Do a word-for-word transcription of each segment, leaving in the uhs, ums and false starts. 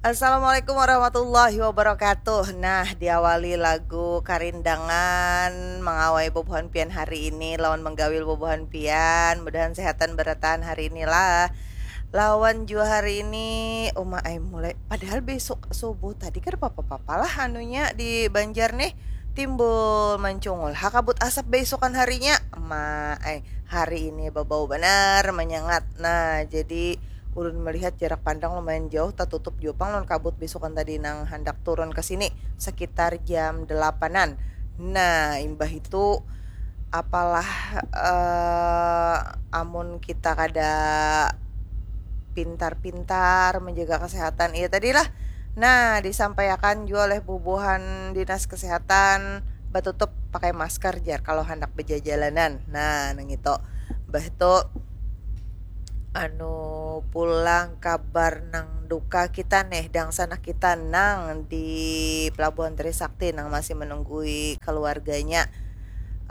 Assalamualaikum warahmatullahi wabarakatuh. Nah, diawali lagu Karindangan mangawai bubuhan pian hari ini lawan menggawil bubuhan pian. Mudahan sehatan berataan hari inilah. Lawan jua hari ini uma ai mulai, padahal besok subuh tadi kada papa-papa lah anunya di Banjar nih, timbul mancungul ha kabut asap besokan harinya. Ma ai, hari ini babau banar manyangat. Nah, jadi ulun melihat jarak pandang lumayan jauh, tatutup jua pang lawan kabut besokan tadi nang handak turun ke sini sekitar jam delapanan. Nah, imbah itu apalah, eh, amun kita kada pintar-pintar menjaga kesehatan, iya tadilah. Nah, disampaikan jua oleh bubuhan dinas kesehatan batutup pakai masker jar kalau handak bejajalanan. Nah, nang itu. Bah itu anu pulang kabar nang duka kita nih, dangsanak kita nang di Pelabuhan Trisakti nang masih menunggui keluarganya,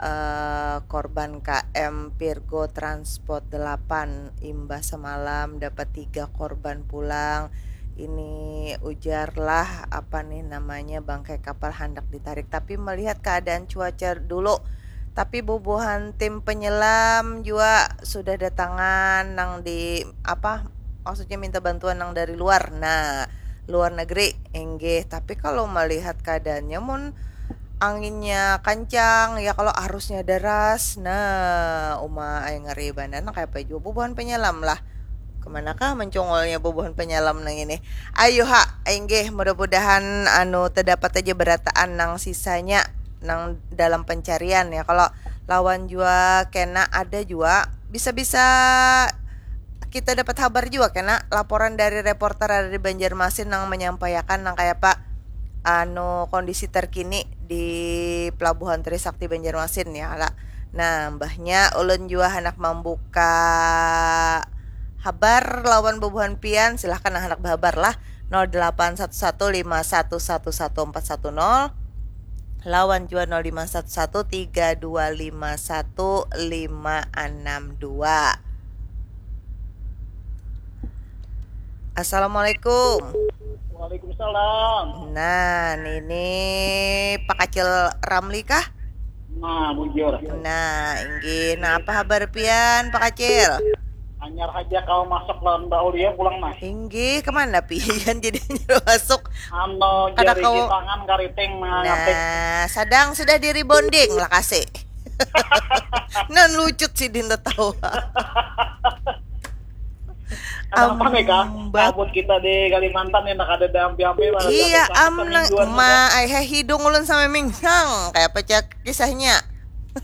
eh, korban K M Virgo Transport delapan. Imbah semalam dapat tiga korban pulang. Ini ujarlah apa nih namanya, bangkai kapal handak ditarik, tapi melihat keadaan cuaca dulu. Tapi bubuhan tim penyelam jua sudah datangan nang di apa, maksudnya minta bantuan nang dari luar. Nah, luar negeri, inggih. Tapi kalau melihat keadaannya, mun anginnya kancang, ya kalau arusnya deras, nah, uma ai ngeri banar. Nah, kayapa jua bubuhan penyelam lah. Kemanakah mencungulnya bubuhan penyelam nang ini? Ayu ha, inggih, mudah-mudahan anu terdapat aja berataan nang sisanya nang dalam pencarian ya. Kalau lawan jua kena ada jua, bisa-bisa kita dapat habar jua kena laporan dari reporter ada di Banjarmasin nang menyampaikan nang kayapa anu kondisi terkini di Pelabuhan Trisakti Banjarmasin ya kala. Nah, mbahnya ulun jua handak mambuka habar lawan bubuhan pian, silahkan nang handak bahabar lah. Nol delapan satu satu lima satu satu satu empat satu nol lawan jua nol lima satu satu tiga dua lima satu lima enam dua. Assalamualaikum. Waalaikumsalam. Nah, ini Pak Kacil Ramli kah? Nah, bujur. Nah, inggih. Nah, apa habar pian, Pak Kacil? Anyar aja kau masuk lawan Mbak Aulia pulang, Mas. Inggih, kemana pian jadi anyar masuk? Anu, Kada jari kau- tangan kariting mengangatik. Nah, sadang sudah di rebonding lah kasih. Nan lucut sidin tatawa. Kenapa nih, Kak? Ambat. Kabut kita di Kalimantan yang ada dampi-dampi. Iya, am nang ma ai heh hidung ulun sampai mingsang. Kayak apa cak kisahnya?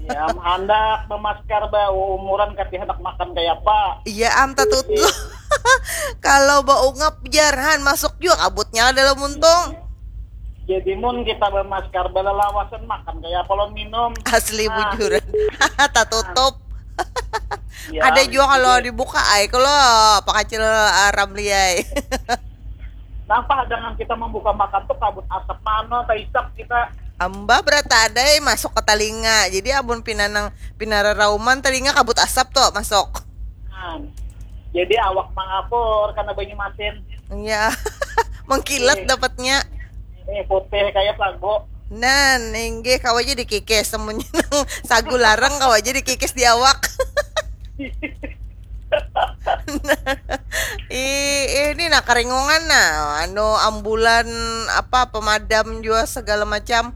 Ya, am handak memaskar ba umuran kati handak makan kayak apa. Iya, am tatut lu. Kalau baungap jarhan masuk juga kabutnya dalam muntung. Jadi mun kita bamaskar balalawasan makan kayak apa lawan minum. Asli Ah. Bujuran. Tatutup. Ya, Ada juga kalau jadi- dibuka ai kalau Pak Kacil Ramli ai. Napa dengan kita membuka makan tuh kabut asap mano taisap kita. Amba berata ada ai masuk ke talinga. Jadi amun pina nang pina rarauman talinga kabut asap tuh masuk. Nah, jadi awak mangapur karena banyu masin. Iya. Mengkilat Iya. Dapatnya. Ini putih kayak sago. Nan, inggih kawa aja dikikis semuanya nang sagu larang kawa aja dikikis di awak. Ih, ini nah keringungan nah, anu ambulan apa pemadam juga segala macam.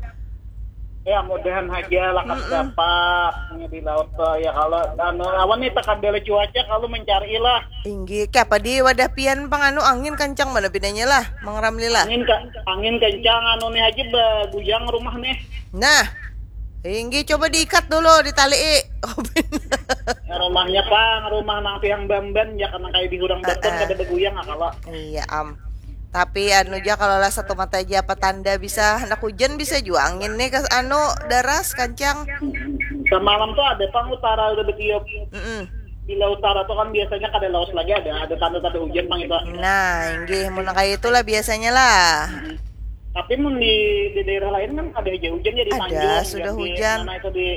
Ya mudahan aja lah kan dapat di laut tuh ya kalau anu awan nih tekan bela cuaca kalau mencari lah. Inggih, kayak apa di wadah pian pang anu angin kencang mana bedanya lah, Mang Ramli lah. Angin ka, angin kencang anu nih aja baguyang rumah nih. Nah, inggih coba diikat dulu, ditalii. Ya, rumahnya pang rumah nang tiang bamban ya karena kayak di hurang bamban Ah, ah. Kada baguyang ah kalau. Iya, am. Tapi anu ja kalau lah satu mata aja apa tanda bisa hendak hujan bisa juga angin nih ke anu deras kencang. Semalam tuh ada pang utara udah bertiup. Mm-mm. Bila utara tuh kan biasanya kada lawas lagi ada ada tanda-tanda hujan pang itu. Nah, inggih mun kayak itulah biasanya lah. Tapi mun di, di daerah lain kan ada aja hujan ya di Ada, Tanjung, sudah di hujan. Mana itu di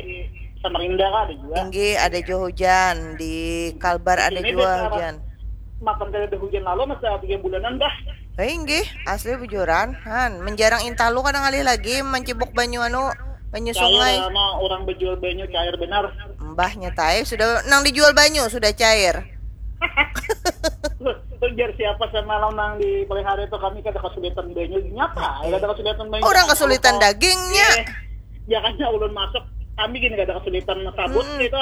Samarinda kan ada juga. Inggih ada juga hujan, di Kalbar ada Ini juga daerah hujan. Makan kada ada hujan lalu masa tiga bulanan dah. Eh, inggih, asli bujuran. Han, menjarang intalu kada ngalih lagi mancibuk banyu anu, banyu Cair sungai. Ama orang berjual banyu cair benar. Mbahnya tai sudah nang dijual banyu sudah cair. Ujar siapa semalam nang dipelihara itu kami kada kesulitan banyu nyapa ya kada kesulitan banyu. Orang kesulitan dagingnya. Ya kan ulun masuk kami gini kada kesulitan sabut Hmm. gitu.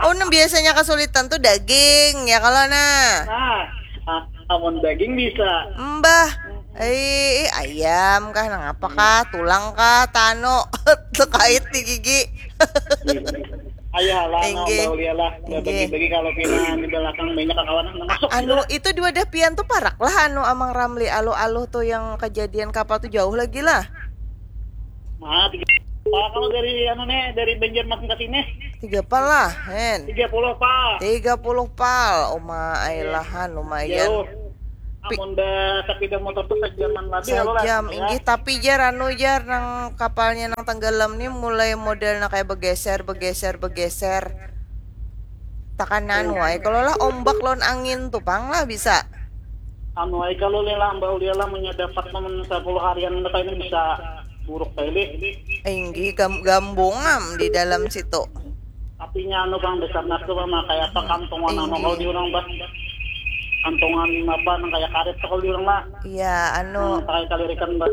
Oh, nang biasanya kesulitan tuh daging ya kalau nah. Nah, ah, amun daging bisa. Mbah, eh ayam kah, nang apa kah, tulang kah, tano terkait di gigi. Ayah lah, Inggih. Baulia lah. Inggih. Bagi-bagi kalau pinangan di belakang banyak kawan nang masuk. Anu itu dua dah pian tuh parak lah anu Amang Ramli alu-aluh tuh yang kejadian kapal tuh jauh lagi lah. Nah, tiga. Pak, kalau dari anu nih dari Banjarmasin ke sini Tiga pal lah, hen. tiga puluh pak. Tiga puluh pal, uma ailahan lumayan. Jauh. Amun ba sepeda motor tuh sejaman lebih kalau lah. Sajam, inggih tapi jar anu jar nang kapalnya nang tenggelam nih mulai model nang kayak begeser begeser begeser. Takan anu ai kalau lah ombak lawan angin tuh pang lah bisa. Anu ai kalau lila mbak ulia lah punya dapat namun sepuluh harian kita ini bisa buruk kali. Inggih gam gambungam di dalam situ. Tapi nya anu bang besar nas tuh mah kayak apa kantongan anu kalau di orang bah kantongan apa nang kayak karet tuh kalau di orang lah. Iya anu Nang kayak kalirikan bah.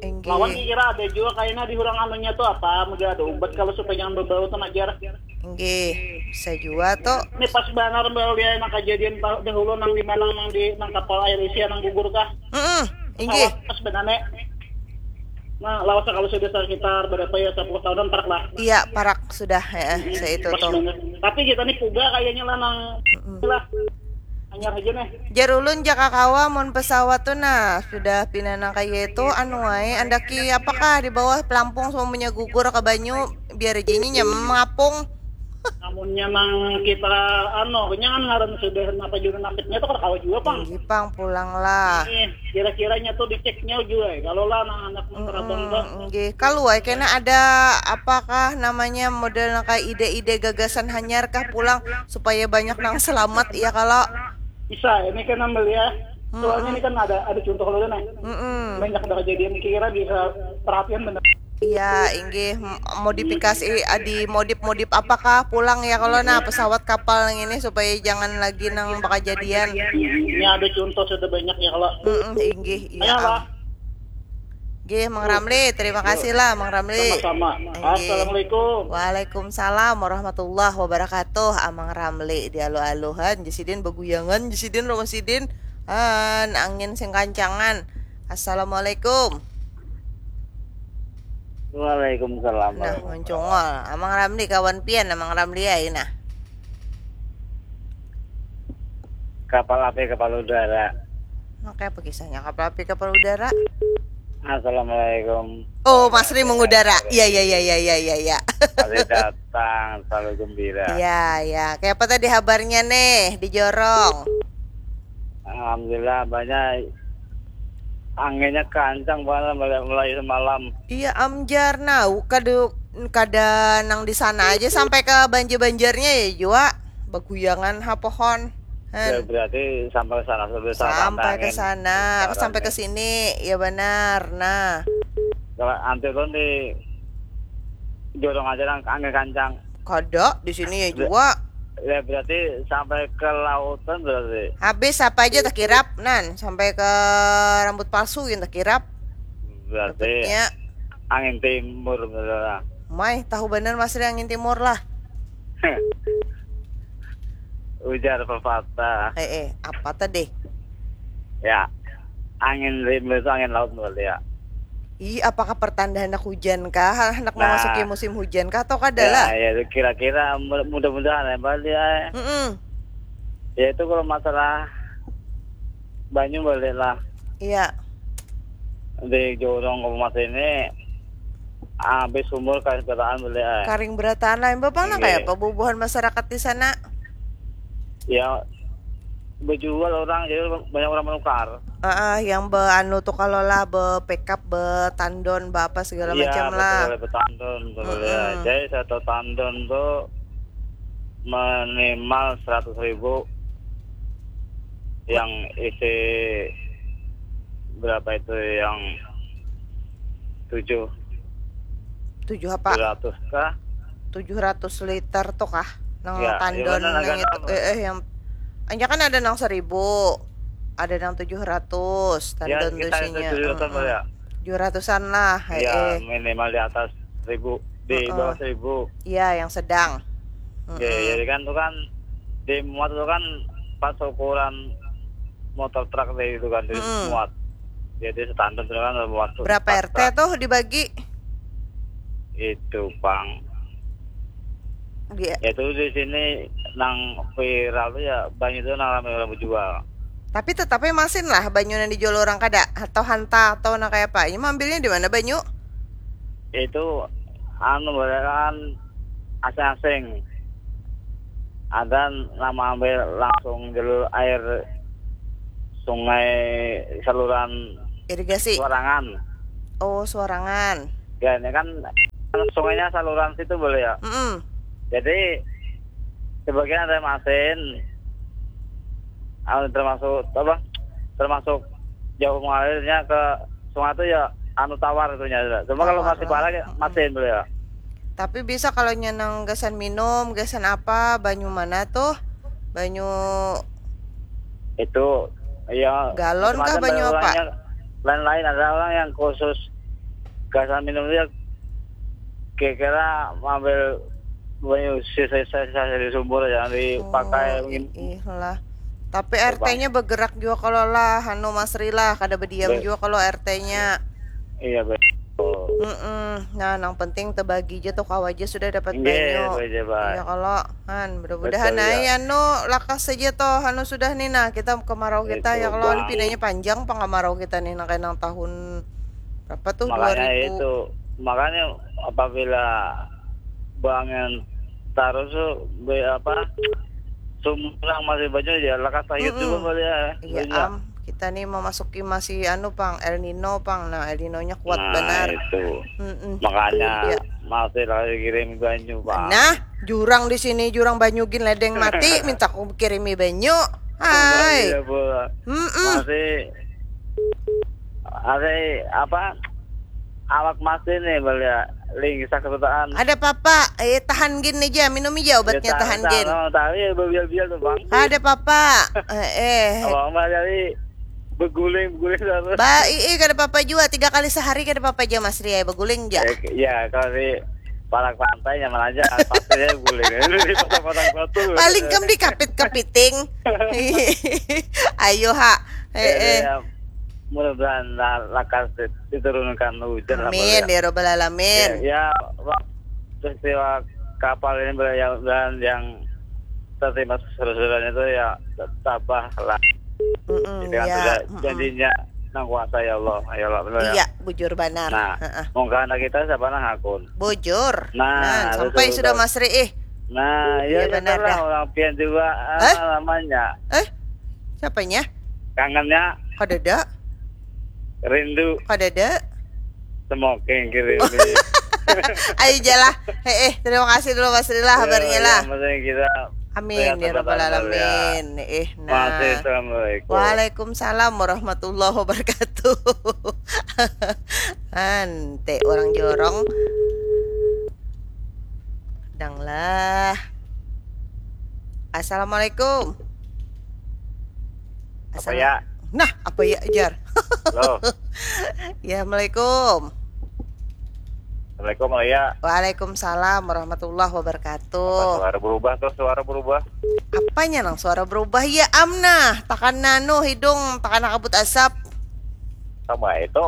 inggih. Lawan kira ada juga kayaknya di orang anunya tuh apa mudah ada obat kalau supaya jangan berbau tuh ajar. Inggih, bisa jua tuh. Ini pas banar mbak ulia nang kejadian pa- dahulu nang di mana nang di nang kapal air Asia nang gugur kah? Heeh, inggih. Pas benar nek. Nah, lawas kalau sudah sekitar berapa ya sepuluh tahunan parak lah. Iya, parak sudah, heeh, seitu Pas tuh. Banget. Tapi kita nih puga kayaknya lah nang lah anyar aja nih. Jar ulun jaka kawa mun pesawat tuh nah sudah pinanang kaya itu anu wae andaki apakah di bawah pelampung semuanya gugur ke banyu biar aja ini nyaman mengapung. Namunnya nang kita anu, kenyangan ngaran sudah apa juga nasibnya tuh kada kawa juga pang. Inggih pang pulang lah. Eh, kira-kiranya tuh diceknya juga ya. Kalau lah anak-anak nang terabang tuh. Mm, inggih. Kalu ai kena ada apakah namanya model nang kayak ide-ide gagasan hanyar kah pulang supaya banyak nang selamat ya kalau Bisa, ini kan ambil ya. Soalnya ini kan ada ada contoh dulu nih. Mm-mm. Banyak ada kejadian kira bisa perhatian bener. Iya, inggih M- modifikasi adi modif-modif apakah pulang ya kalau nah pesawat kapal yang ini supaya jangan lagi nang bakajadian. Ini ada contoh sudah banyak ya kalau. Mm-mm, inggih, iya. Ayo lah. Am. Nggih, Mang Ramli, terima kasih lah Mang Ramli. Sama-sama. Inggih. Assalamualaikum. Waalaikumsalam warahmatullahi wabarakatuh. Amang Ramli dialuh-aluhan, jasidin beguyangan, jasidin rumah sidin. Han, angin sing kancangan. Assalamualaikum. Waalaikumsalam. Nah, mencongol. Amang Ramli kawan pian, Amang Ramli ai nah. Kapal api, kapal udara. Nah, kayak apa kisahnya kapal api, kapal udara? Assalamualaikum. Oh, Mas Ri mengudara. Iya, iya, iya, iya, iya, iya, iya. Masih datang, selalu gembira. Iya, iya. Kayak apa tadi habarnya nih di Jorong? Alhamdulillah, banyak anginnya kancang banget mulai, mulai semalam. Iya, amjar nah, kada kada nang di sana aja sampai ke banjar-banjarnya ya jua. Beguyangan ha pohon. Ya, Han. Berarti sampai ke sana sudah Sampai ke angin. sana, Sekarang sampai ke nih. Sini. Ya benar. Nah, Kalau anti ulun di Jorong aja nang angin kancang. Kada di sini ya jua. Ya berarti sampai ke lautan berarti. Habis apa aja tekirap nan sampai ke rambut palsu yang tekirap. Berarti Ya, angin timur berarti. mai tahu benar Mas Ri angin timur lah. Ujar pepatah. Eh, eh, apa tadi? Ya. Angin timur itu angin laut berarti ya. Ih, apakah pertanda hendak hujan kah? Hendak Nah. memasuki musim hujan kah atau kada Ya, lah? Ya, kira-kira mudah- mudah-mudahan ya balik ya. Mm-mm. Ya itu kalau masalah banyu balik lah Iya. di Jorong Kabupaten ini habis sumur kain petaan balik ya. Karing berataan lah. Bapak nang Iya. Kayak apa bubuhan masyarakat di sana? Ya berjual orang jadi banyak orang menukar. Ah, yang be anu tuh kalau lah be pick up be tandon be apa segala Iya, macam lah. Betul, betul, tandon, betul, ya. Mm-mm. Jadi satu tandon tuh minimal seratus ribu. Yang isi berapa itu, yang tujuh Tujuh apa? ratus kah? Tujuh ratus liter tuh kah? Nang Ya, tandon yang mana nang agak itu. apa? Eh, eh, yang hanya kan ada nang seribu, ada nang tujuh ratus Ya, tandon tuh kita itu isinya. tujuh ratus Mm-mm. Ya. Tujuh ratusan lah. Eh, Ya, eh. Minimal di atas seribu, di Heeh. Bawah seribu. Iya, yang sedang. Ya, Mm-mm. Jadi kan tuh kan di muat tuh kan pas ukuran motor truk deh itu kan di Mm-mm. muat. Jadi standar tuh kan muat tuh Berapa pas R T truk. Tuh dibagi? Itu pang. Dia. Ya itu di sini nang viral tuh ya banyak tuh nang ramai orang berjual. Tapi tetapnya masin lah banyu nang dijual orang kada atau hanta atau nang kayak apa? Ini ambilnya di mana banyu? Itu anu barataan asing-asing. Ada nama ambil langsung jalur air sungai saluran Irigasi. Suarangan. Oh, Suarangan. Ya ini kan sungainya saluran situ boleh ya. Mm-mm. Jadi sebagian ada yang masin, anu, termasuk apa? Termasuk jauh mengalirnya ke sungai itu ya anu tawar itunya. Cuma kalau Tawar masih lah. parah ya Mm-mm. masin boleh ya. Tapi bisa kalau nyenang gasan minum, gasan apa? Banyu mana tuh? Banyu Itu ya Galon kah macam-macam banyu apa? Orangnya lain-lain, ada orang yang khusus gasan minum dia kira-kira ngambil banyu sisa-sisa dari sumur yang dipakai Oh, mungkin. Ih lah. Tapi R T-nya bergerak juga kalau lah, anu Mas Ri lah, kada berdiam Be- juga kalau R T-nya. Iya betul. Mm-mm. Nah, nang penting tebagi aja tuh kawa aja sudah dapat Nggih, banyu. betul, Pak. Iya kalau han, mudah-mudahan Betul, ai ya. Anu lakas saja toh, anu sudah nih nah kita kemarau kita Itu, ya kalau Bang. Pinanya panjang pang kemarau kita nih nang kayak nang tahun berapa tuh Makanya dua ribu. Itu, makanya apabila bangun terus tuh be, apa sumur masih banyu ya lekas sayur Mm-mm. Juga boleh ya. Iya Banyak. Am, kita nih memasuki masih anu pang El Nino pang, nah El Nino-nya kuat Nah, benar. Itu. Mm-mm. Makanya Iya. Masih lagi kirim banyu, Pak. Nah, jurang di sini jurang banyu gin ledeng mati minta aku kirimi banyu. Hai. Iya, Bu. Mm-mm. Masih ada apa? Awak masih nih, beli ya. Lingsa kesutaan. Ada papa, eh tahan gin aja, minum aja obatnya tahan gin. Tapi ya biar-biar tuh, Bang. Ada papa. Eh, eh. Abang mah jadi beguling, beguling terus. Ba, ii kada papa jua, tiga kali sehari kada papa jua Mas Ria, beguling ja. Eh, ya kalau di parak pantai nyaman aja, pasirnya beguling. Di pasar-pasar batu. Paling kam dikapit-kapiting. Ayo ha. Jadi, Eh, eh. Ya, mudah-mudahan la- lakas di- diturunkan hujan lah, Amin Bang, ya robbal alamin. Ya, ya, Bang, peristiwa kapal ini, Bang, ya, mudah-mudahan yang tertimpa surat-suratnya itu ya tabah lah. Mm-mm, Jadi kan ya, sudah mm-mm. Janjinya nang kuasa ya Allah, ya Allah, benar ya. Iya, bujur banar. Nah, Heeh. Mungkin anak kita siapa nang hakun. Bujur. Nah, Nah, sampai betul, sudah betul. Mas Ri ih. Nah, Iya, ya benar benar lah dah. Orang pian juga Eh? Apa namanya? Eh, siapanya? Kangennya Kadada, rindu kadada. Smoking kiri. Ayo jalah. Eh, eh, terima kasih dulu Mas Ri lah kabarnya lah. Yang penting kita Amin sehat ya robbal selalu, ya. Alamin. Eh, nah. Masih assalamualaikum. Waalaikumsalam warahmatullahi wabarakatuh. Ante orang jorong. Dang lah. Assalamualaikum. Apa Assalam- ya? Nah, apa ya jar? Halo. Ya, assalamualaikum. Assalamualaikum ya. Waalaikumsalam warahmatullahi wabarakatuh. Suara berubah tuh, suara berubah. Apanya nang suara berubah ya Amnah? Takan nanu hidung, takan kabut asap. Sama itu.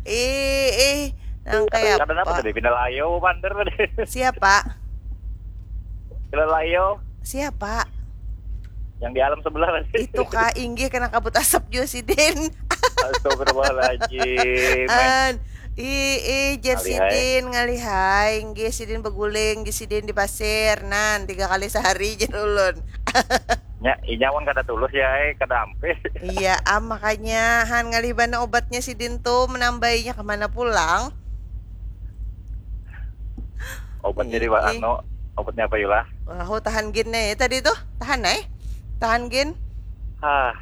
Ih, ih, nang kayak Kadang apa apa? Tadi pindah layo bandar tadi. Siapa? Pindah layo Siapa? Yang di alam sebelah tadi. Itu kah inggih kena kabut asap juga sidin. Astagfirullahaladzim. An, ih, ih, jar Ngalihai. Sidin ngalihai, inggih sidin beguling, inggih sidin di pasir, nan tiga kali sehari jar ulun. Ya, inya pun kada tulus ya, eh, kada ampih. Iya, am makanya han ngalih bana obatnya sidin tuh menambainya kemana pulang? Obatnya di Ih, ih. Anu, obatnya apa yulah? Wah, tahan gin nih tadi tuh, tahan nih. Tahan gin. Hah.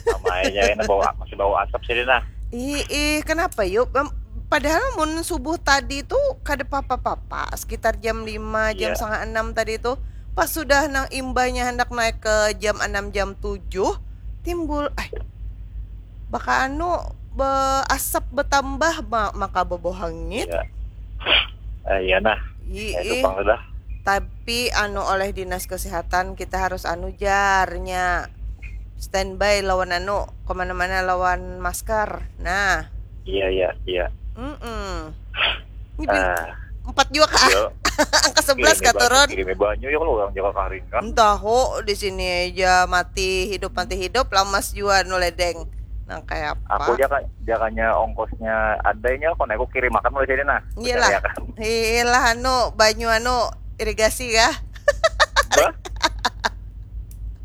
Sama aja ini bau masih bau asap sini nah. Ih, ih, kenapa yuk? Em, Padahal mun subuh tadi tuh kada papa-papa, sekitar jam lima, jam Iya. setengah enam tadi tuh, pas sudah nang imbahnya hendak naik ke jam enam, jam tujuh, timbul, eh, baka anu, be, asap betambah, ma- maka bebohangit. Iya. Eh, iya nah. Ih, Ya, itu ih. pang sudah. Tapi anu, oleh dinas kesehatan kita harus anu jarnya standby lawan anu kemana-mana lawan masker. Nah, Iya iya iya. mm Ini bin- Ah, empat juga kah? iya. Angka sebelas Kirimi kah banyu, turun? kirimi banyu ya kalau orang jaga karing kan. Entah ho, di sini aja mati hidup mati hidup, lamas jua nu ledeng. Nang kayak apa? Aku jaka jakanya ongkosnya adanya kok aku kirim makan mulai sini nah. Iyalah. Percaya kan? Iyalah anu, banyu anu, irigasi kah? Bah?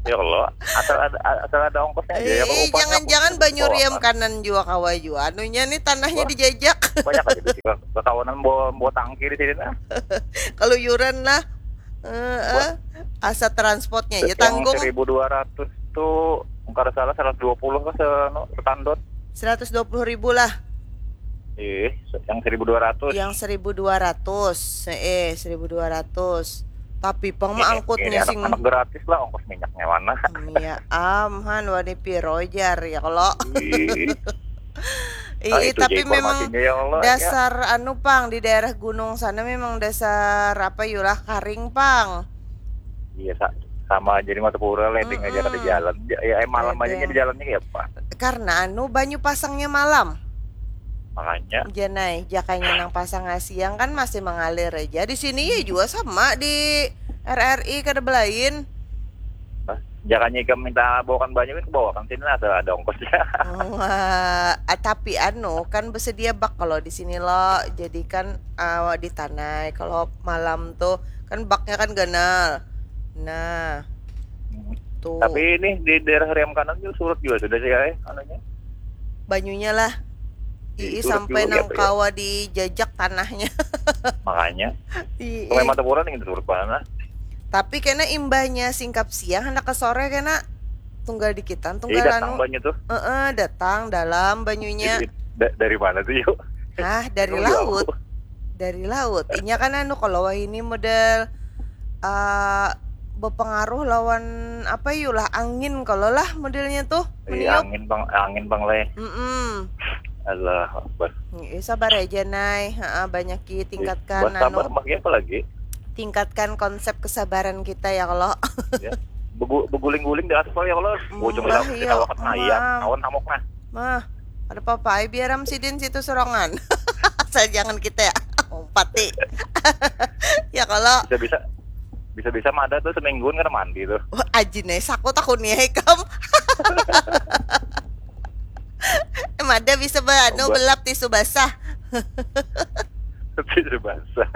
Ya Allah, asal ada asal ada ongkosnya aja ya. Eh, Kalau upahnya jangan-jangan aku banyu bawa riam kan. Kanan jua kawa jua. Anunya nih tanahnya Wah. Dijajak. Banyak aja di sini. Kekawanan bawa bawa tangki di sini nah. Keluyuran lah. Eh, eh. Asa transportnya aja Yang tanggung. Seribu dua ratus tuh kalau salah seratus dua puluh ke se anu, setandot. Seratus dua puluh ribu lah. Ih, yang seribu dua ratus. Yang seribu dua ratus. Eh, seribu dua ratus. Tapi pang mah Ini- angkutnya ini sing anak-anak gratis lah ongkos minyaknya mana. Iya, amhan wani piro jar ya kalau. Ih, Ih, ah, itu tapi aja memang informasinya ya Allah. Ya. Dasar anu pang di daerah gunung sana memang dasar apa yulah karing pang. Iya sa- sama aja di Martapura leding aja kada Mm-mm. Jalan. Ya, ya eh, malam aja Leding. Jadi jalannya kayak apa? Karena anu banyu pasangnya malam. Makanya Janai, jakanya nang pasang siang kan masih mengalir aja. Di sini ya juga sama di R R I kada belain. Nah, jakanya ikam minta bawakan banyu kan bawakan sini lah ada ada ongkosnya. Wah, ah, tapi anu kan bersedia bak kalau di sini lo. Jadi kan ah, di tanai kalau malam tuh kan baknya kan ganal. Nah, tuh Tapi ini di daerah Riam Kanan juga surut juga sudah sih ya, eh, anunya. Banyunya lah. Ii Surut sampai juga, nang iya, iya. Kawa dijajak tanahnya. Makanya. Ii. Sungai Martapura nih surut mana? Tapi kena imbahnya singkap siang hendak ke sore kena tunggal dikitan Jadi tunggal datang anu. Banyu tuh. Eh, eh, datang dalam banyunya. Jadi, da- dari mana tuh yuk? Ah, dari Emang jauh? Laut. Dari laut. Inya kan anu kalau wahini model eh berpengaruh lawan apa yuk lah angin kalau lah modelnya tuh. Iya, angin bang, angin bang leh. Mm-mm. Allah Akbar. Ih, sabar aja Nay. Ha, banyak ki tingkatkan Buat sabar anu, maksudnya apa lagi? Tingkatkan konsep kesabaran kita ya kalau. Ya. Begu- beguling-guling di aspal ya kalau ujung Mbah, kita iya, kita wakat nah iya maaf. Awan hamok nah. Mah, ada apa-apa ai biaram sidin situ sorongan. Saya jangan kita ya. Umpati. Ya kalau Bisa-bisa bisa-bisa mada tuh semingguan kada mandi tuh. Wah, aji nih, sakut aku nih ikam. Em ada bisa ba- anu Obat. Belap tisu basah. Tisu basah.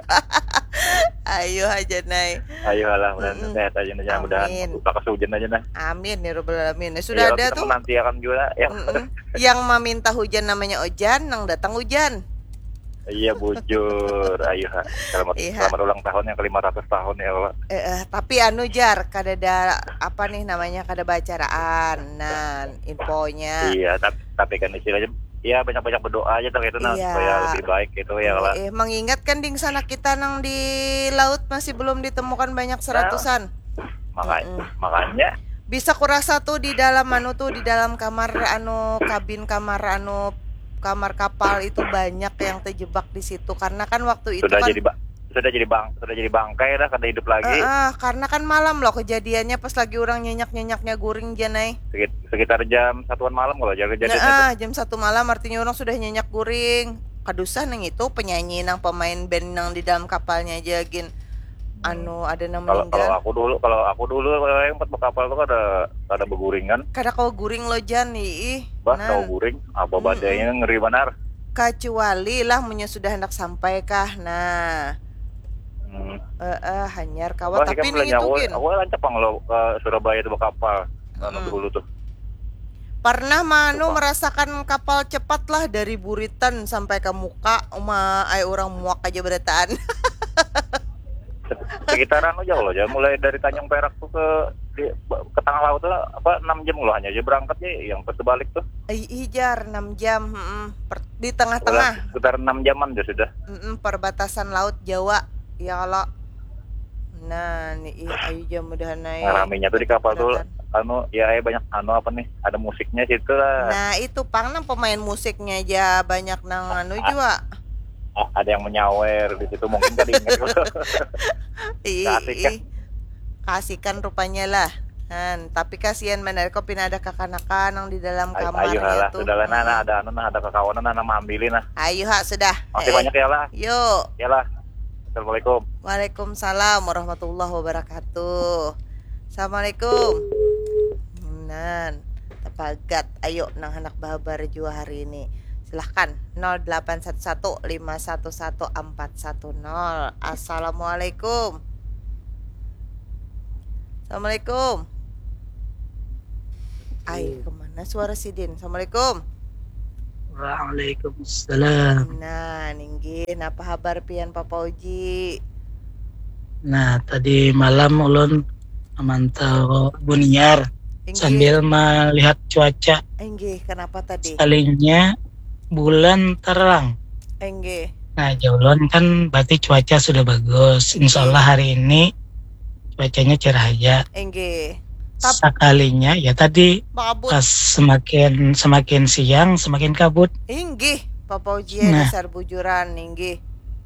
Ayo aja Nay. Ayo lah, mudahan Mm-mm. Sehat aja nah, mudahan Amin. Bakas hujan aja nah. Amin ya robbal alamin. Sudah Iya, ada kita tuh. Menantiakan juga ya. Mm-mm. Yang meminta hujan namanya Ojan, nang datang hujan. Iya bujur, ayo ha. Selamat Iya. Selamat ulang tahun yang ke lima ratus tahun ya Allah. Eh, eh, tapi anu Jar, kada ada apa nih namanya kada bacaraan. Nah, infonya. Iya, tapi tapi kan istilahnya ya banyak-banyak berdoa aja tuh gitu nah Iya. Supaya lebih baik gitu ya Allah. Eh, mengingat kan dingsanak kita nang di laut masih belum ditemukan banyak seratusan. Makanya Mm-mm. makanya Bisa kurasa tuh di dalam anu tuh di dalam kamar anu kabin kamar anu kamar kapal itu banyak yang terjebak di situ karena kan waktu itu sudah kan jadi ba- sudah jadi bang sudah jadi bangkai dah kada hidup lagi. Eh, eh, karena kan malam loh kejadiannya pas lagi orang nyenyak-nyenyaknya guring janai. Sekit- sekitar jam satuan malam kalau jaga jadi Nah, ah, jam satu malam artinya orang sudah nyenyak guring. Kadusah nang itu penyanyi nang pemain band nang di dalam kapalnya aja gin. Anu ada nang kalau kalau meninggal. Aku dulu kalau aku dulu kalau yang empat kapal tuh ada ada beguring kan. Kada kau guring lo Jan, ih. Bah Nah, tahu guring apa Mm-mm. Badainya ngeri banar. Kecuali lah munnya sudah hendak sampai kah. Nah, Hmm. eh eh, hanyar kawa Wah, tapi ikan ning belanja itu aku, gin. Aku lancar pang lo ke Surabaya tuh kapal. Anu Mm-mm. Dulu tuh. Pernah manu Sumpah. Merasakan kapal cepat lah dari Buritan sampai ke muka uma ai orang muak aja berataan. Sekitar anu jauh loh, jauh. Mulai dari Tanjung Perak tuh ke di, ke tengah laut tuh apa enam jam loh hanya aja berangkat ya, yang pas balik tuh. Ih, jar enam jam, mm-mm. Per, di tengah-tengah. Sekitar enam jaman aja sudah. Mm-mm, perbatasan laut Jawa, ya kalau. Nah, nih ih, ayo jam mudahan naik. Nah, ramenya tuh di kapal tuh anu ya eh, banyak anu apa nih, ada musiknya situ lah. Nah, itu pang nang pemain musiknya aja banyak nang anu juga. Ah, ada yang menyawer di situ mungkin tadi ingat. Ih, Kasih kan. Ih. Kasihkan rupanya lah. Han, tapi kasihan benar kok pina ada kakanakan yang di dalam Ay- kamarnya Ayo lah, tuh. Sudahlah nah, Hmm. nah, ada anu nah, ada kakawanan nah, nah maambilin nah. Ayo ha sudah. Makasih Eh, banyak ya lah. Yuk. Ya lah. Assalamualaikum. Waalaikumsalam warahmatullahi wabarakatuh. Assalamualaikum. Nan, tapagat. Ayo nang handak bahabar jua hari ini. Silahkan nol delapan satu satu lima satu satu empat satu nol. Assalamualaikum. Assalamualaikum. Ai, kemana suara sidin? Assalamualaikum. Waalaikumsalam. Nah, ninggih, napa habar pian Papa Uji? Nah, tadi malam ulun memantau Buniar Inggih. Sambil melihat cuaca. Inggih, kenapa tadi? Sekalinya bulan terang. Inggih. Nah, jauh ulun kan berarti cuaca sudah bagus. Insya Allah hari ini cuacanya cerah aja. Inggih. Tap- Sekalinya ya tadi Makabut. Pas semakin semakin siang semakin kabut. Inggih, Papa Uji ya Nah. Dasar bujuran, inggih.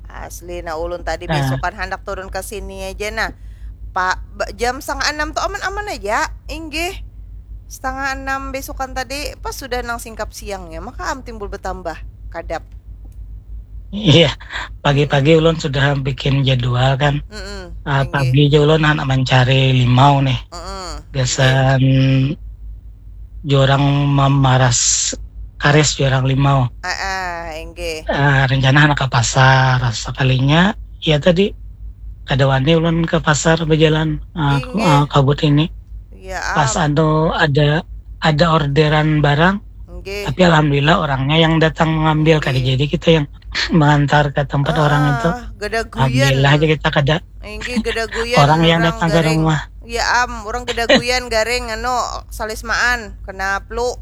Asli nah ulun tadi Nah. Besokan handak turun ke sini aja nah. Pak ba- jam setengah enam tuh aman-aman aja, inggih. Setengah enam besokan tadi pas sudah nang singkap siangnya maka am timbul bertambah kadap. Iya, pagi-pagi ulun sudah bikin jadwal kan. Mm-mm, Ah, inggih. Pagi aja ulun anak mencari limau nih. Mm-mm. Gasan jurang mamaras karis jurang limau. Ah, ah, inggih. Ah, rencana anak ke pasar. Sekalinya ya tadi kada wani ulun ke pasar berjalan ah, Inggih. ah, kabut ini. Ya, Pas am. Anu ada ada orderan barang, Inggih. Tapi alhamdulillah orangnya yang datang mengambil, kada Inggih. Jadi kita yang mengantar ke tempat orang itu. Ah, gadaguyan. Alhamdulillah aja kita kada. Inggih, gadaguyan Orang yang datang ke garing. Rumah. Ya am, orang gadaguyan garing anu salismaan kena flu.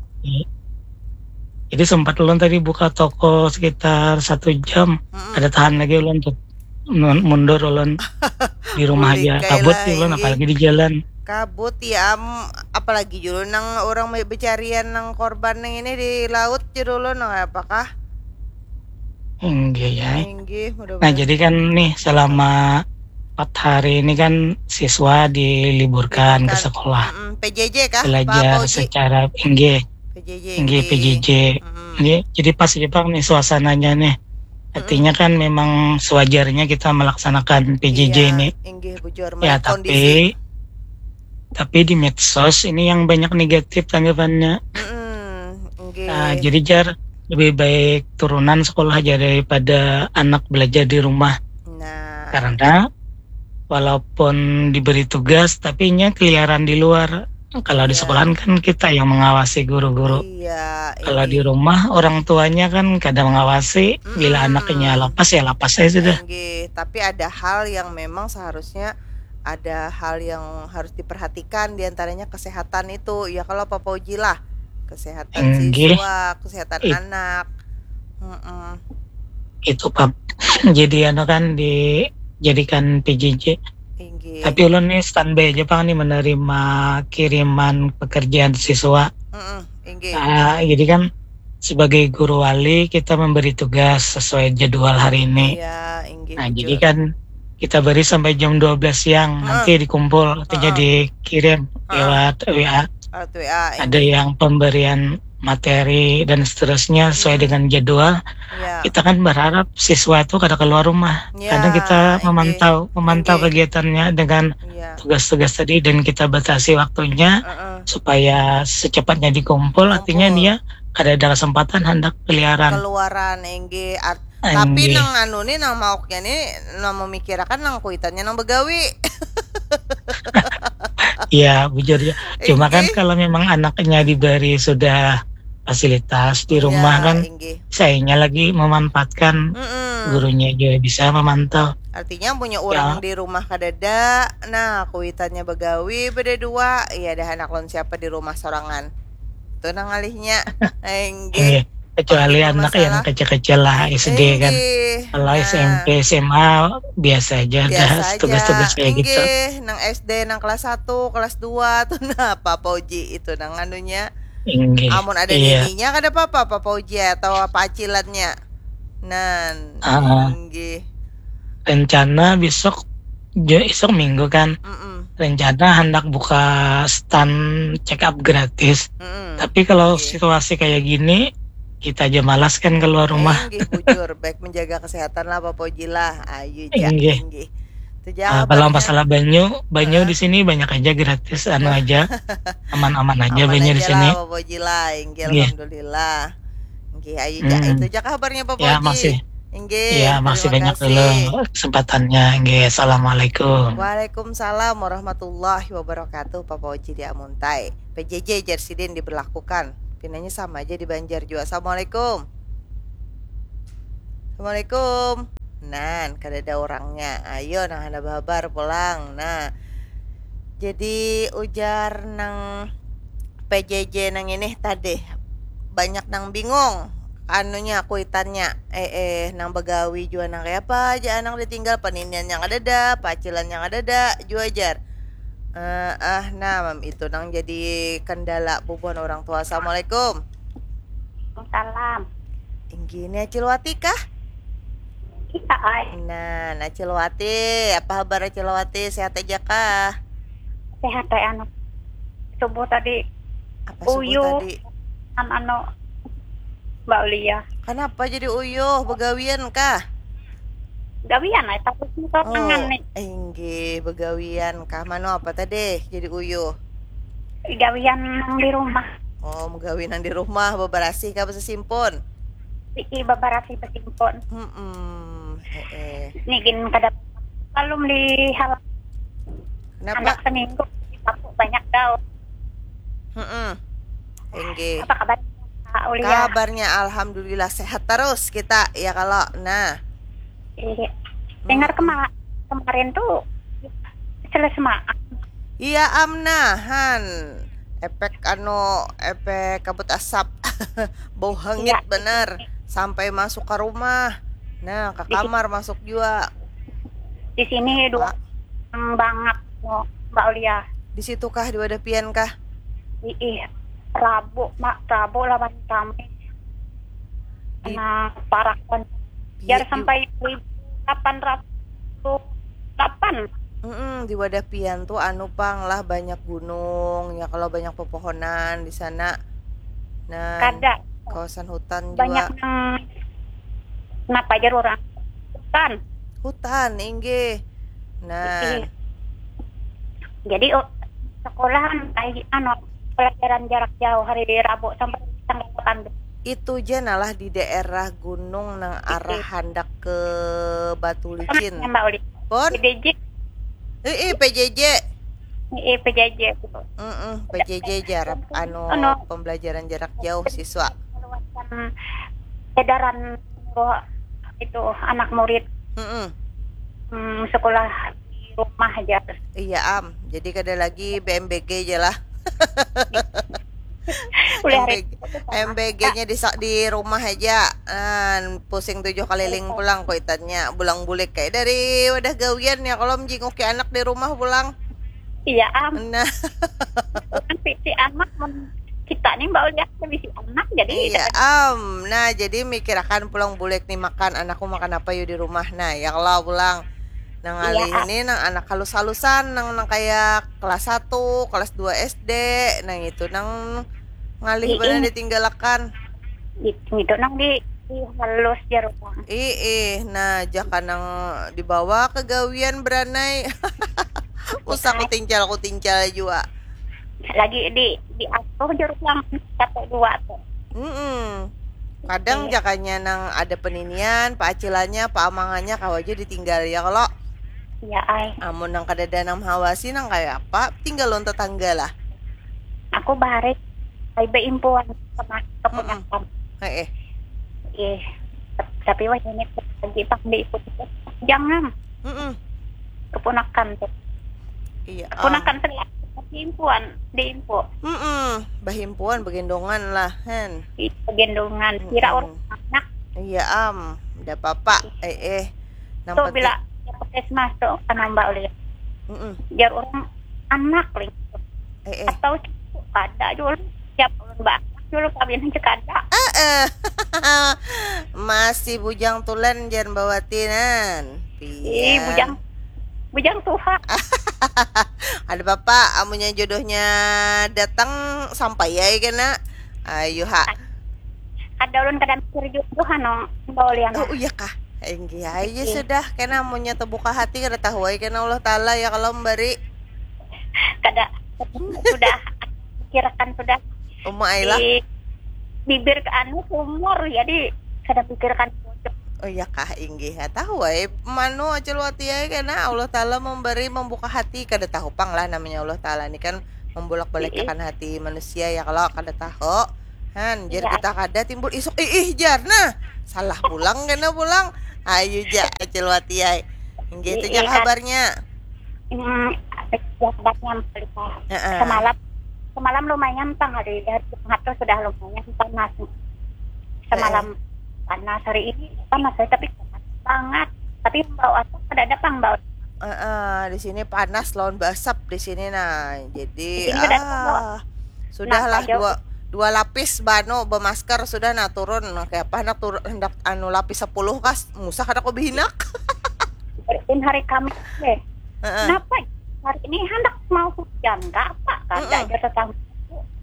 Jadi sempat ulun tadi buka toko sekitar satu jam. Mm-mm. Ada tahan lagi ulun tuh. Mun- Mundur ulun di rumah aja. Ulikai Kabut lah, sih ulun inggih. Apalagi di jalan. Kabut ya am, apalagi dulu nang orang becarian nang korban nang ini di laut dulu nang apakah? Inggih ya. Inggih, mudah Nah, jadi kan nih selama empat hari ini kan siswa diliburkan ke Liburkan. Sekolah. Mm-mm. P J J kah? Belajar Apa, Uji? Secara inggih. P J J, Inggih, inggih. P J J. Mm-mm. Inggih, jadi pas aja pang nih suasananya nih. Artinya kan memang sewajarnya kita melaksanakan P J J Iya, ini. Inggih, bujur. Ya, Melihat kondisi. Tapi tapi di medsos ini yang banyak negatif tanggapannya. Mm-mm, inggih. Nah, jadi jar lebih baik turunan sekolah aja daripada anak belajar di rumah. Nah. Karena walaupun diberi tugas, tapi nya keliaran di luar. Kalau di Iya. Sekolahan kan kita yang mengawasi guru-guru. Iya, Kalau di inggih. Rumah orang tuanya kan kada mengawasi. Bila Mm-mm. Anaknya lapas ya lapas saja sudah. Inggih, tapi ada hal yang memang seharusnya ada hal yang harus diperhatikan, diantaranya kesehatan itu. Ya kalau Papa Uji lah, kesehatan Inggih. Siswa, kesehatan It- anak. Mm-mm. Itu Pap. Jadi anu kan dijadikan P J J. Inggih. Tapi ulun nih standby aja pang nih menerima kiriman pekerjaan siswa. Mm-mm, inggih. Nah, jadi kan sebagai guru wali kita memberi tugas sesuai jadwal hari ini. Iya, inggih. Nah, Bujur. Jadi kan kita beri sampai jam dua belas siang, Heeh. Nanti dikumpul, artinya Heeh. Dikirim Heeh. Lewat W A. Lewat W A. Ada yang pemberian materi dan seterusnya sesuai Hmm. Dengan jadwal. Ya. Kita kan berharap siswa itu kada keluar rumah. Ya, Karena kita inggih. Memantau memantau Inggih. Kegiatannya dengan Ya. Tugas-tugas tadi dan kita batasi waktunya Heeh. Supaya secepatnya dikumpul. Artinya Kumpul. Dia kada ada kesempatan hendak keliaran. Keluaran, inggih. Art- Tapi Inggih. Nang anu nih, nang mauknya nih, nang memikirakan nang kuitannya nang begawi. Iya, bujur ya. Cuma kan Inggih. Kalau memang anaknya diberi sudah fasilitas di rumah kan, inggih. Sayanya lagi memanfaatkan Mm-mm. Gurunya juga bisa memantau. Artinya punya orang Ya. Di rumah kadada, nah kuitannya bagawi berdua, iya dah anak lon siapa di rumah sorangan. Itu nang ngalihnya. Inggih. Inggih. Kecuali Itu anak yang masalah. Kecil-kecil lah, S D kan. Inggih. Kalau Nah, S M P, S M A biasa aja ada biasa aja. tugas-tugas kayak gitu. Inggih, nang S D, nang kelas satu, kelas dua tuh nah Papa Uji itu nang anunya. Inggih. Amun ada Iya. nininya kada apa-apa Papa Uji atau apa acilannya. Nan, Ah. inggih. Rencana besok, jo- besok minggu kan. Mm-mm. Rencana hendak buka stand check up gratis. Mm-mm. Tapi kalau Inggih. Situasi kayak gini, kita aja malas kan keluar rumah. Inggih, bujur. Baik menjaga kesehatan lah Papa Uji lah. Ayu ja, Inggih. Inggih. Itu Ah, ja kalau kabarnya. Masalah banyu, banyu Heeh. Di sini banyak aja gratis, anu aja, aman-aman aja Aman banyu di aja sini. Lah Papa Uji lah, inggih Inggih. Alhamdulillah. Inggih, ayu ja. Hmm. Itu ja kabarnya Papa Ya, Uji. Masih. Inggih, Ya, masih terima banyak kasih. Dulu kesempatannya. Inggih, assalamualaikum. Waalaikumsalam warahmatullahi wabarakatuh. Papa Uji di Amuntai. P J J jar sidin diberlakukan. Pinanya sama aja di Banjar juga. Assalamualaikum. Assalamualaikum. Nan, kada ada orangnya. Ayo, nang hana bahabar pulang. Nah, jadi ujar nang P J J nang ini tadi banyak nang bingung anunya kuitannya eh eh nang bagawi jua nang kaya apa aja anak ditinggal paniniannya kadada pacilannya kadada jua jar eh ah nah itu nang jadi kendala bubuhan orang tua assalamualaikum Salam. Inggih, ini Acil Wati kah? Kita ai. Nah, Acil Wati, apa kabar Acil Wati? Sehat aja kah? Sehat ai anu. Subuh tadi Apa subuh Uyuh. Tadi? An anu Mbak Ulia. Kenapa jadi uyuh? Begawian kah? Gawian ai tapi Oh, tangan nih. Inggih, begawian kah? Mano apa tadi jadi uyuh? Gawian nang di rumah. Oh, megawi nang di rumah, beberasih kah besesimpun? Ii beberasih besimpun. Hmm, heeh. Nih gin kada belum di hal Kenapa? Anak seminggu aku banyak daun. Hmm, inggih. Apa kabar Kak Ulia? Kabarnya alhamdulillah sehat terus kita ya kalau. Nah. Iya. Dengar kema kemarin tuh selesai maaf. Iya am nah han efek anu efek kabut asap bau hangit Iya. Bener sampai masuk ke rumah nah ke Di- kamar masuk juga Di sini dua Pak. Yang banget no, Mbak Ulia. Di situ kah di wadah pian kah? Ih, Rabu mak Rabu lawan Kamis. Di- Nah, parak kan. Iya, Biar di- sampai seribu delapan ratus delapan. Mm-mm, di wadah pian tuh anu pang lah banyak gunung ya kalau banyak pepohonan di sana. Nah, Kada. Kawasan hutan Banyak juga. Yang kenapa aja orang hutan. Hutan inggih. Nah, Ih. Jadi oh, sekolahan ai anu pelajaran jarak jauh hari Rabu sampai tanggal delapan belas. Itu je nalah di daerah gunung nang arah handak ke Batu Licin. Sama Mbak Uli. Pon? P D J. Eh, eh, P J J. Eh, P J J gitu. Mm-mm, P J J jarap anu Anu. Pembelajaran jarak jauh siswa. Mengeluarkan edaran itu anak murid Mm-mm. hmm, sekolah di rumah aja. Iya am, jadi kada lagi B M B G aja lah. Boleh hari M B G-nya di sa- di rumah aja. Nah, pusing tujuh keliling pulang kuitannya. Bulang bulik kayak dari wadah gawian ya kalau menjinguki anak di rumah pulang. Iya am. Nah, Kan si anak mun kita nih mbak ulian bisi anak jadi iya am. Nah, jadi mikirakan pulang bulik nih makan anakku makan apa yuk di rumah. Nah, ya kalau pulang. Nang ngalih Iya, am. Ini nang anak halus-halusan nang nang kayak kelas satu, kelas dua S D, nang itu nang ngalih Iya. Benar ditinggalakan. Gitu, gitu nang di, di halus jar orang. Ih, ih, nah jaka nang dibawa ke gawian beranai. Usah kutincal kutincal jua. Lagi di di atuh jar orang satu dua tuh. Mm-mm. Kadang Iya. Jakanya nang ada peninian, paacilannya, paamangannya kawa aja ditinggal ya kalau. Iya ai. Amun nang kadada nang mahawasi nang kayak apa, tinggal lawan tetangga lah. Aku bahari Ai baimpuan sama keponakan. Heeh. Ih, tapi wah ini lagi pang diikut-ikut. Jangan. Heeh. Keponakan tuh. Iya. Keponakan tuh diimpuan, diimpu. Heeh. Bahimpuan, bagendongan lah, hen. Ih, bagendongan. Kira orang anak. Iya, am. Ada apa-apa. Eh, eh. Tuh, bila puskesmas tuh, kan Mbak Ulian. Heeh. Jar orang anak, lih. Eh, eh. Atau ada juga siap ulun baanak dulu kawin aja kada. Eh, eh. Masih bujang tulen jar Mbak Wati nan. Ih, bujang, bujang tuha. Ada apa-apa, amunnya jodohnya datang sampai ya kena. Ayo ha. Kada ulun kada mikir jodoh anu Mbak Uliana. Oh iya kah? Inggih aja sudah kena amunnya terbuka hati kada tahu aja kena Allah Taala ya kalau memberi. Kada sudah pikirkan sudah. Uma ai lah. Di bibir ke anu sumur jadi kada pikirkan jodoh. Oh iya kah inggih ya tahu ai manu acil wati ai kena Allah Taala memberi membuka hati kada tahu pang lah namanya Allah Taala ni kan membulak balikan hati manusia ya kalau kada tahu han jar kita kada timbul isuk iih jar nah salah pulang kena pulang ayu ja acil wati ai inggih itu ja kabarnya. Hmm, ya, kabarnya Mbak Lisa. Heeh. Semalam, semalam lumayan pang hari, hari Jumat tuh sudah lumayan panas. Semalam panas, hari ini panas, tapi panas banget. Tapi bau asap kada ada pang bau. Heeh, di sini panas lawan basap di sini nah. Jadi ah, sudahlah dua dua lapis bano bemasker sudah nah turun kayak apa hendak turun hendak anu lapis sepuluh kas musah kada kau behinak. Bersin hari Kamis deh. Heeh. Kenapa hari ini hendak mau hujan? Gak apa, kada aja tetangga.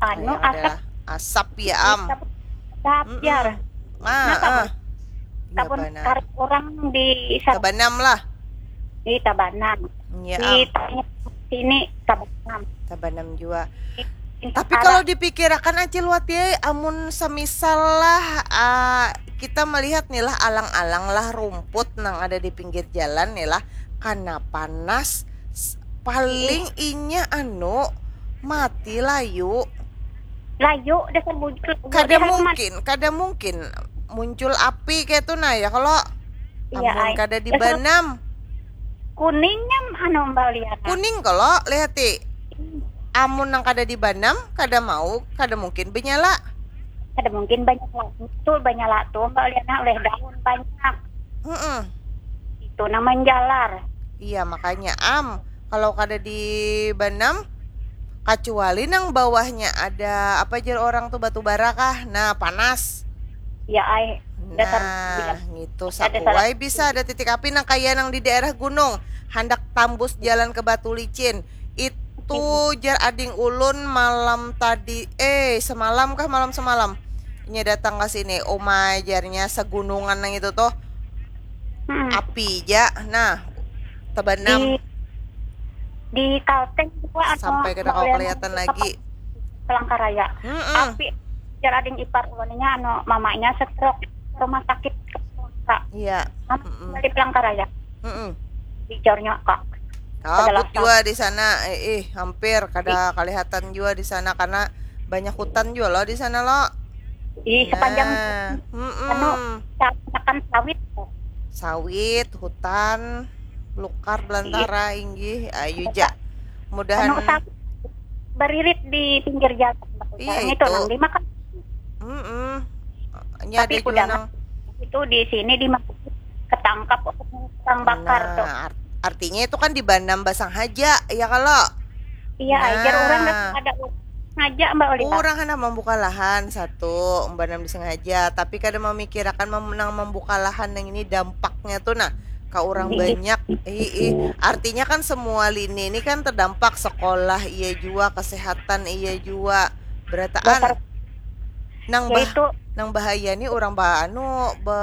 Anu asap. Asap ya am. Asap jar. Nah, kabun karet orang di Tabanam lah. Di Tabanam. Ya, di sini Tabanam. Tabanam juga. Tapi kalau dipikirakan Acil Wati ai, amun semisal lah uh, kita melihat nih lah alang-alang lah rumput nang ada di pinggir jalan nih lah karena panas paling inya anu mati layu layu dasar bujur kada mungkin kada mungkin muncul api kayak tuh nah ya kalau iya, amun kada dibanam kuningnya anu Mbak Liana kuning kalau lihati hmm. Amun nang kada dibanam kada mau kada mungkin benyala kada mungkin banyak tuh banyak tuh Mbak Liana oleh daun banyak mm -mm. Itu nang menjalar iya makanya am kalau kada dibanam kacuali nang bawahnya ada apa jar orang tuh batu bara kah nah panas ya ai nah gitu sakuai bisa ada titik api nang kaya nang di daerah gunung handak tambus jalan ke batu licin itu jar ading ulun malam tadi eh semalam kah malam semalam inya datang ke sini uma jarnya segunungan nang itu tuh hmm. Api ja nah tebanam di, di Kalteng juga sampai kada kawa kelihatan lagi Palangkaraya hmm. Api jar ading ipar ulunnya anu mamanya stroke rumah sakit iya hmm. Di Palangkaraya hmm. Di Jornyo kok kabut juga di sana eh, eh hampir kada kelihatan juga di sana karena banyak hutan juga loh di sana loh Ih, sepanjang nah, anu, makan sawit. Sawit, hutan, belukar, belantara, inggih, ayu ja. Mudahan anu, sawit beririt di pinggir jalan. Iya, itu, itu nang dimakan. Mm -mm. Tapi ada juga nang itu di sini di ketangkap orang bakar nah, tuh. Artinya itu kan dibanam basang haja, ya kalau? Iya, nah, ajar orang ada Sengaja Mbak Ulila. Urang handak mambuka lahan satu, umbanan disengaja, tapi kada mamikirakan mem nang mambuka lahan nang ini dampaknya tu nah ka urang banyak. Hiih, artinya kan semua lini ni kan terdampak, sekolah iya jua, kesehatan iya jua, berataan. Nang bah nang bahaya ni urang ba anu be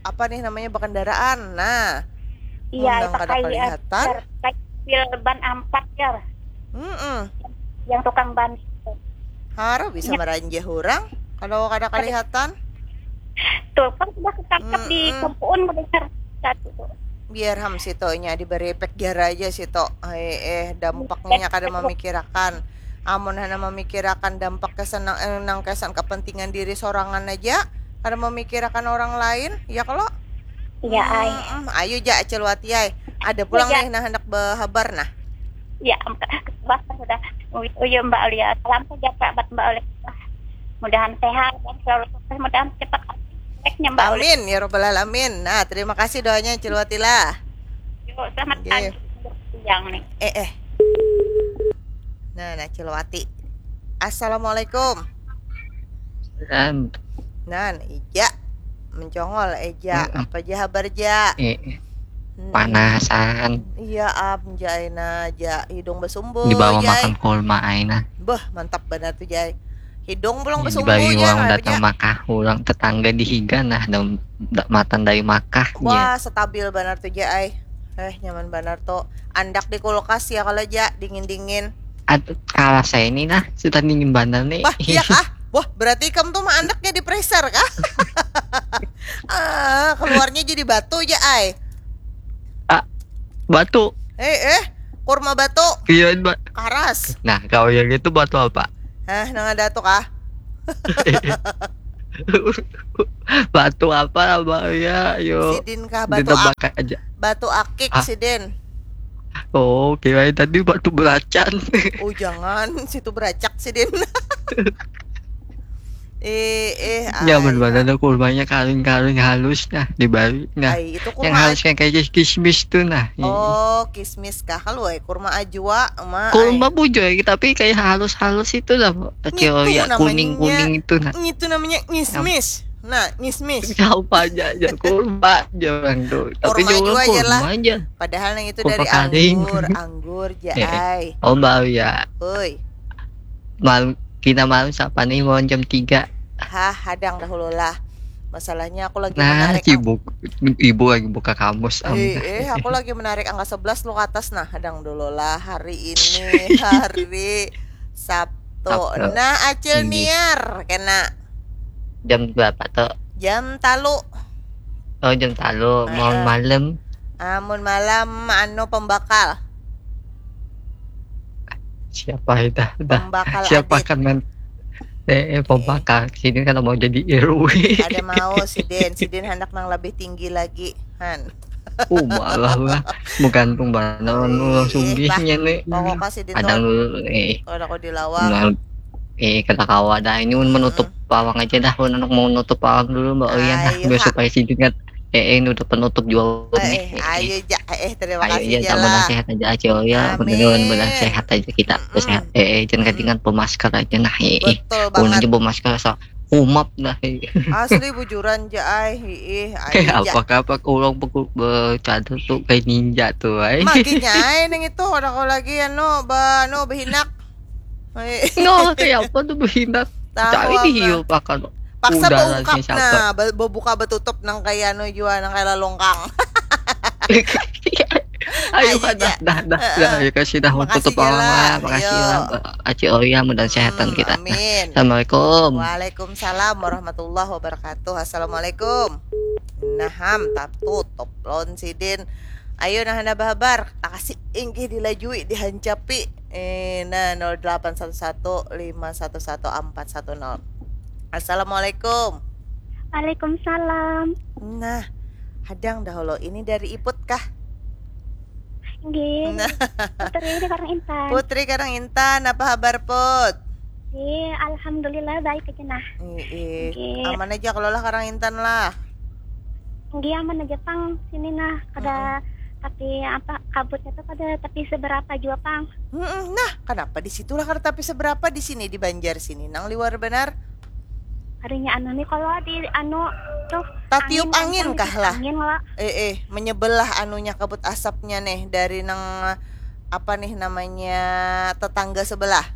apa nih namanya bekendaraan, nah. Iya, nang kada kelihatan. Pil ban ampat ya. Mm -mm. Yang tukang ban. Haro bisa meranjah orang kalau kada kelihatan. Tuh kan sudah ketangkap mm -mm. Di kumpuun mendengar satu tuh. Biar ham sitonya diberi efek jara aja sito. Eh, eh dampaknya kada memikirakan. Amun hana mamikirakan dampak kesan nang, eh, nang kesan kepentingan diri sorangan aja, kada mamikirakan orang lain, ya kalo? Iya, ai. Mm-mm. Ayu ja, Acil Wati ai. Ada pulang Ja. Nih nang handak behabar nah. Ya, Mbak, sudah. Uyu, Mbak Aulia. Salam sejahtera buat Mbak Aulia. Mudahan sehat dan selalu sukses. Mudahan cepat update-nya, Mbak Aulia. Amin ya robbal alamin. Nah, terima kasih doanya, Acil Wati lah. Yuk, selamat Oke. pagi. Siang nih. Eh eh. Nah, nah, Acil Wati. Assalamualaikum. Dan Nan, ija mencongol, eja Mm-mm. apa ja habar ja? eh, Mm-mm. Panasan. Iya, am, jai na ja hidung besumbu, Dibawa jai. Makan kurma aina. Beh, mantap banar tuh, jai. Hidung pulang Ini besumbu, dibawa jai, orang ngarap datang ja. Makah, orang tetangga di higa nah, dam- da- matan dari Makah. Wah, stabil banar tuh, ja, ai. Eh, nyaman banar tuh. Andak di kulkas ya kalau ja, dingin-dingin. Aduh, kalah saya ini nah, sudah dingin banar nih. Wah, iya kah? Wah, berarti kamu tuh mah andaknya di freezer kah? Ah, keluarnya jadi batu ja, ai. Batu. Eh, eh, kurma batu. Iya, Mbak. Karas. Nah, kalau yang itu batu apa? Hah, nang ada tuh kah? Batu apa, Mbak? Ya, yo. Sidin kah batu Ditebak ak aja. Batu akik Ah. Sidin. Oh, kirain tadi batu belacan. Oh, jangan, situ beracak Sidin. Eh, eh, Nyaman ai, banget ada kurmanya, karing-karing halus nah, di bari nah. Ai, itu Yang kurma halus kayak kayak kismis tuh nah. Iya. Oh, kismis kah? Kalau ai kurma ajwa, ma. Kurma Ai. Bujoy, tapi kayak halus-halus itu lah. Kecil Ngitu ya, namanya. Kuning-kuning itu nah. Ngitu namanya ngismis. Nah, ngismis. Siapa aja, aja kurma aja orang tuh. Tapi Kurma juga juga aja lah. Kurma aja. Padahal yang itu Kurma dari karing. Anggur, anggur ja, Eh, eh. Ai. Oh, Mbak ya. Oi. Malam, kita malam siapa nih mau jam tiga? Hah, hadang dahulu lah. Masalahnya aku lagi Nah, menarik sibuk. Ibu lagi buka kamus. Eh, eh, aku lagi menarik angka sebelas lu ke atas nah, hadang dulu lah. Hari ini hari Sabtu. Sabtu. Nah, Acil Ini. Niar kena Jam berapa tuh? Jam talu. Oh, jam talu. Mau Heeh. Malam. Amun malam anu pembakal. Siapa itu? Dah. Pembakal Siapa adit. Kan men? Eh, eh, pembakal. Sini kalau mau jadi R W. Ada mau Sidin, Sidin hendak nang lebih tinggi lagi. Han. Oh, malah lah. Bukan pembantu Ih, langsung bah. Gihnya nih. Pokoknya Sidin Ada tuh dulu, eh. Kalau aku di lawang. Nah, eh, kada kawa dah. Ini menutup pawang aja dah. Ulun mau nutup pawang dulu, Mbak Oyan. Nah, Ayo, biar ha. Supaya Sidin kan, eh, eh, nutup penutup jual Eh, nih. eh, ayo ja, eh, eh, terima Ayo kasih ya, ja tambah lah. Sehat aja, Acil ya. Amin. Beneran, beneran sehat aja kita. Mm-mm. Sehat. Eh, eh, jangan Mm-mm. Ketinggalan pemasker aja nah. Eh, eh. Betul Ulun banget. Aja pemasker so humap dah. Eh. Asli bujuran ja ai. Hiih, ayo Kayak ja. Apa kapak orang bercadar tuh kayak ninja tuh, ay. Maginya ai nang itu, udah kau lagi anu, ba anu behinak. Ai. No, kayak apa tuh behinak? Tahu Cari di apa. Hiu pakan. Paksa Udah beungkap langsung siapa? Nah, be- bebuka betutup nang kayak anu jua, nang kayak lalongkang. Ayo, Ayo, dah, ja. dah, dah, Heeh. dah, ya kasih dah Makasih tutup ja pawang lah. Lah, makasih Yo. Lah, Acil Oya, mudah sehat Hmm, kita. Amin. Assalamualaikum. Waalaikumsalam warahmatullahi wabarakatuh. Assalamualaikum. Nah, ham, tap tutup lawan Sidin. Ayo nah, hana bahabar. Takasi inggih dilajui, dihancapi. Eh, nah, nol delapan satu satu lima satu satu empat satu nol. Assalamualaikum. Waalaikumsalam. Nah, hadang dahulu. Ini dari Iput kah? Nggih. Nah. Putri ini Karang Intan. Putri Karang Intan, apa habar, Put? Nggih, alhamdulillah baik aja nah. Ih, ih. Nggih. Aman aja kalau lah Karang Intan lah. Nggih, aman aja pang sini nah. Kada tapi apa, kabutnya tuh kada tapi seberapa jua pang. Mm-mm. Nah, kenapa di situlah kada tapi seberapa, di sini di Banjar sini nang liwar benar? Harinya anu nih, kalau di anu tuh Tatiup angin kencang kah dikit lah? Angin lah. Eh, eh, menyebelah anunya, kabut asapnya nih dari nang, apa nih namanya, tetangga sebelah.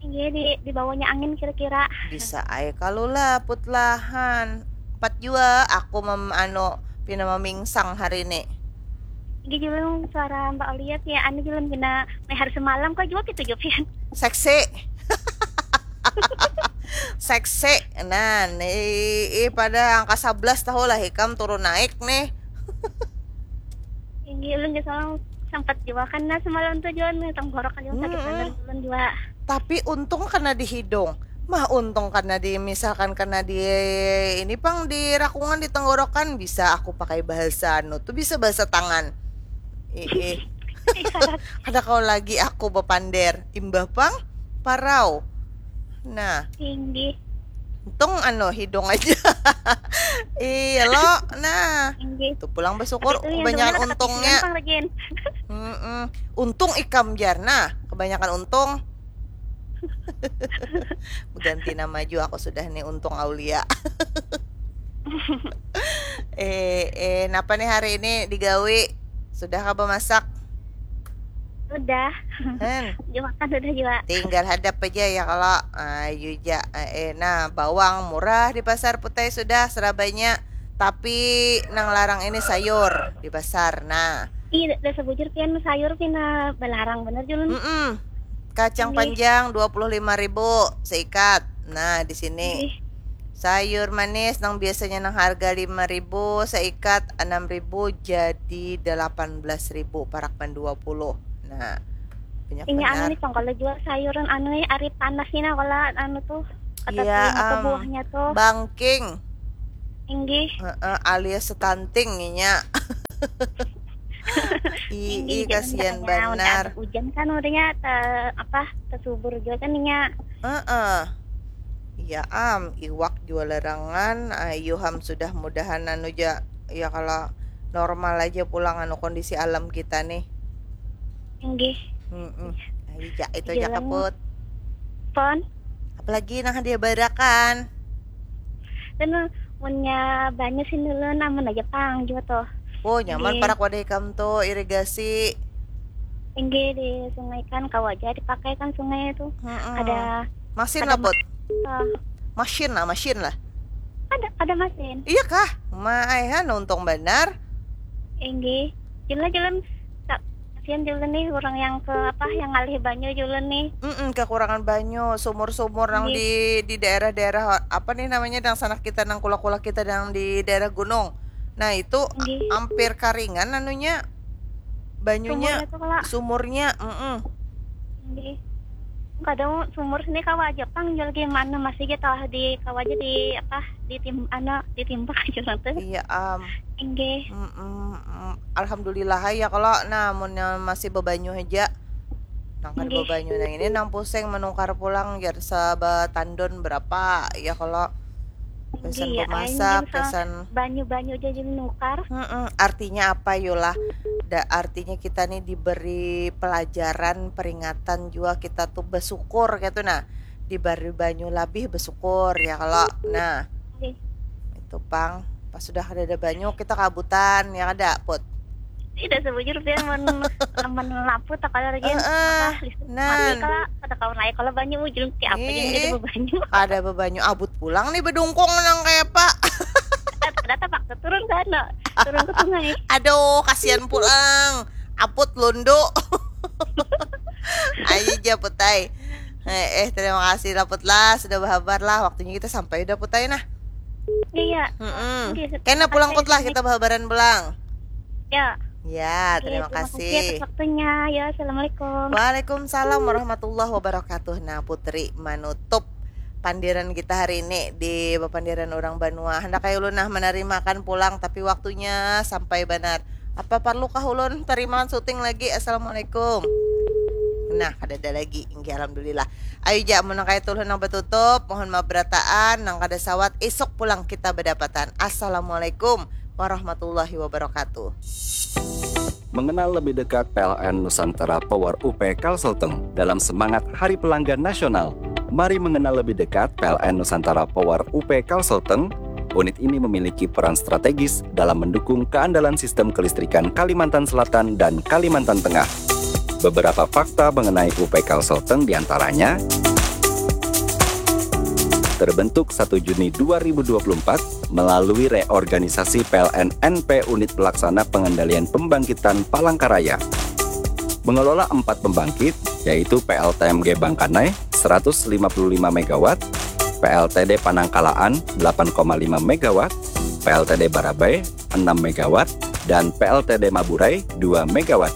Iya, di di bawahnya angin kira-kira. Bisa ai kalau lah, Put lah, han. Empat jua aku mem anu pina memingsang hari ini. Nggih, julung suara Mbak Oliet ya, anu julung pina mehar semalam kok jua gitu jua pian. Seksi. Seksi. Nah, nih, ih, pada angka sebelas tahu lah ikam turun naik nih. Nggih, ulun jua semalam sempat jua kan, nah, semalam tuh jua nih tenggorokan jua sakit Mm-mm. banar ulun jua. Tapi untung kena di hidung. Mah untung kena di, misalkan kena di ini pang, di rakungan, di tenggorokan, bisa aku pakai bahasa anu tuh, bisa bahasa tangan. Ih, ih. Kada kau lagi aku bapander. Imbah pang parau. Nah, Tinggi. untung anu hidung aja. Iya lo. Nah, Tinggi. Itu pulang bersyukur Tapi itu yang kebanyakan sebenarnya untungnya. Kata Lagi. Mm-mm. Untung ikam jar. Nah, kebanyakan untung. Ganti nama juga aku sudah nih, Untung Aulia. Eh, eh, napa nih hari ini digawi? Sudah kah bemasak? Udah. Hen, Dimakan udah juga. Tinggal hadap aja ya kalau. Ayu ja. Eh, eh, nah, bawang murah di pasar Putai sudah serabanya. Tapi nang larang ini sayur di pasar. Nah, Ih, dah sebujur pian sayur pina balarang bener Julun. mm-mm. Kacang Ih. Panjang dua puluh lima ribu seikat. Nah, di sini. Ih, Sayur manis nang biasanya nang harga lima ribu seikat, enam ribu jadi delapan belas ribu parak pan dua puluh. Nah, banyak ini anu benar. Nih pang kalau jual sayuran anu nih, ari panas ini nah kalau anu tuh kata Iya, tuh am, buahnya tuh. Bangking. Inggih. Heeh, alias stunting inya. Ii, Tinggi, jangan kasihan katanya, udah banar. Ada hujan kan udahnya te, apa tersubur juga kan inya. Heeh. Iya am, iwak jua larangan, ayu ham sudah mudahan anu ja, ya kalau normal aja pulang anu kondisi alam kita nih. Inggih. Mm-mm. Ayu ja, itu ja Jalan. Kaput. Pon. Apalagi nang hadiah barakan. Dan munnya banyu sih dulu namun aja pang juga tuh. Oh, nyaman Inggih. Parak wadah ikam tuh, irigasi. Inggih di sungai kan kau aja dipakai kan sungai itu. Mm-mm. Ada Masin ada lah, Put. eh, Masin lah, masin lah. ada ada masin. Iya kah? Maaihan untung banar. Inggih. Julun julun tak kasihan julun nih orang yang ke apa yang ngalih banyu julun nih. Mm-mm, kekurangan banyu, sumur-sumur nang Inggih. di di daerah-daerah apa nih namanya, dangsanak kita nang kula-kula kita nang di daerah gunung. Nah, itu Inggih. Hampir karingan anunya, banyunya, Sumurnya tuh kala. Sumurnya, mm-mm. Inggih. Kadang sumur sini kawa aja pang jual gimana masih aja tahu di kawa aja di apa di tim anu ditimbak aja nanti. Iya am. Inggih. Mm-mm, mm. Alhamdulillah ya kalau nah mun yang masih bebanyu aja. Nang kada Inggih. Bebanyu nang ini nang pusing menukar pulang jar sabatandon berapa ya kalau pesan Inggih, ya, bemasak, inggih, pesan banyu-banyu aja jadi nukar. Mm-mm. Artinya apa yolah? Da, artinya kita nih diberi pelajaran, peringatan juga kita tuh bersyukur gitu nah. Diberi banyu lebih bersyukur ya kalau. Nah, Inggih. Itu pang pas sudah ada ada banyu kita kabutan ya kada Put. Tidak sebujur dia men men lampu tak kalau lagi Heeh, apa listrik nan. Mati kalau kada kawan naik kalau banyu ujung ti apa yang Ih, jadi bebanyu. Ada bebanyu abut pulang nih bedungkung nang kayak apa. Ada tapak turun sana turun ke sungai. Aduh, kasihan pulang. Aput lundu. Ayo ja Putai. Eh, eh, terima kasih lah Put lah sudah berhabar lah. Waktunya kita sampai udah Putai nah. Iya. Mm-mm. Oke, Kena pulang sampai Put lah sini. Kita berhabaran pulang. Ya. Ya, Oke, terima terima kasih atas kasih. Waktunya ya. Assalamualaikum. Waalaikumsalam warahmatullahi wabarakatuh. Nah, Putri menutup pandiran kita hari ini di pandiran orang banua. Hendak kayak ulun nah menerimakan pulang tapi waktunya sampai benar. Apa perlukah ulun terimakan syuting lagi? Assalamualaikum. Nah, kada ada lagi. Inggih, alhamdulillah. Ayo ja mun nang kaya tulun nang batutup, mohon maaf berataan, nang kada sawat isuk pulang kita badapatan. Assalamualaikum warahmatullahi wabarakatuh. Mengenal lebih dekat P L N Nusantara Power U P Kalsel Teng dalam semangat Hari Pelanggan Nasional. Mari mengenal lebih dekat P L N Nusantara Power U P Kalsel Teng. Unit ini memiliki peran strategis dalam mendukung keandalan sistem kelistrikan Kalimantan Selatan dan Kalimantan Tengah. Beberapa fakta mengenai U P Kalsel Teng diantaranya terbentuk satu Juni dua ribu dua puluh empat melalui reorganisasi P L N N P Unit Pelaksana Pengendalian Pembangkitan Palangkaraya. Mengelola empat pembangkit, yaitu P L T M G Bangkanai seratus lima puluh lima megawatt, P L T D Panangkalaan delapan koma lima megawatt, P L T D Barabai enam megawatt, dan P L T D Maburai dua megawatt.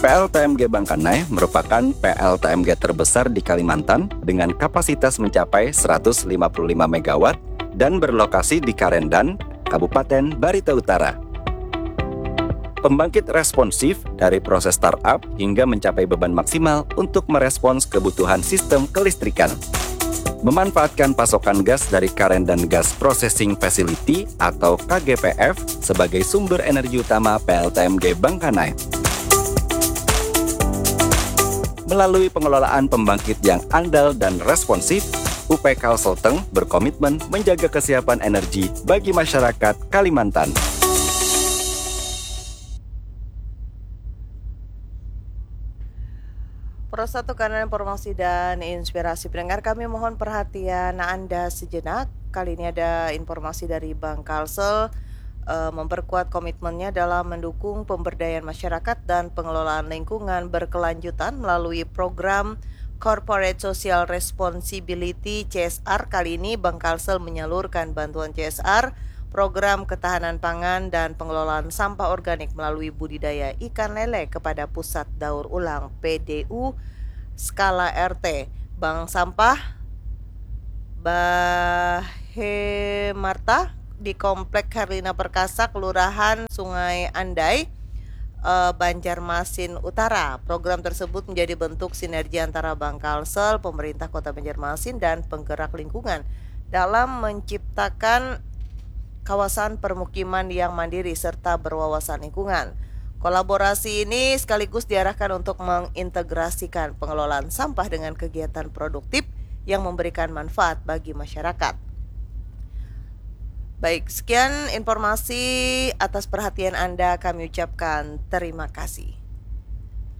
P P L T M G Bangkanai merupakan P L T M G terbesar di Kalimantan dengan kapasitas mencapai seratus lima puluh lima megawatt dan berlokasi di Karendan, Kabupaten Barito Utara. Pembangkit responsif dari proses startup hingga mencapai beban maksimal untuk merespons kebutuhan sistem kelistrikan. Memanfaatkan pasokan gas dari Karendan Gas Processing Facility atau K G P F sebagai sumber energi utama P L T M G Bangkanai. Melalui pengelolaan pembangkit yang andal dan responsif, U P Kalsel Teng berkomitmen menjaga kesiapan energi bagi masyarakat Kalimantan. Pro satu, kanan informasi dan inspirasi pendengar, kami mohon perhatian Anda sejenak. Kali ini ada informasi dari Bank Kalsel, eh, memperkuat komitmennya dalam mendukung pemberdayaan masyarakat dan pengelolaan lingkungan berkelanjutan melalui program Corporate Social Responsibility, C S R. Kali ini Bank Kalsel menyalurkan bantuan C S R, program ketahanan pangan dan pengelolaan sampah organik melalui budidaya ikan lele kepada pusat daur ulang P D U skala R T. Bank sampah Bahemarta di Komplek Herlina Perkasa, Kelurahan Sungai Andai, eh, Banjarmasin Utara. Program tersebut menjadi bentuk sinergi antara Bank Kalsel, pemerintah Kota Banjarmasin, dan penggerak lingkungan dalam menciptakan kawasan permukiman yang mandiri serta berwawasan lingkungan. Kolaborasi ini sekaligus diarahkan untuk mengintegrasikan pengelolaan sampah dengan kegiatan produktif yang memberikan manfaat bagi masyarakat. Baik, sekian informasi. Atas perhatian Anda kami ucapkan terima kasih.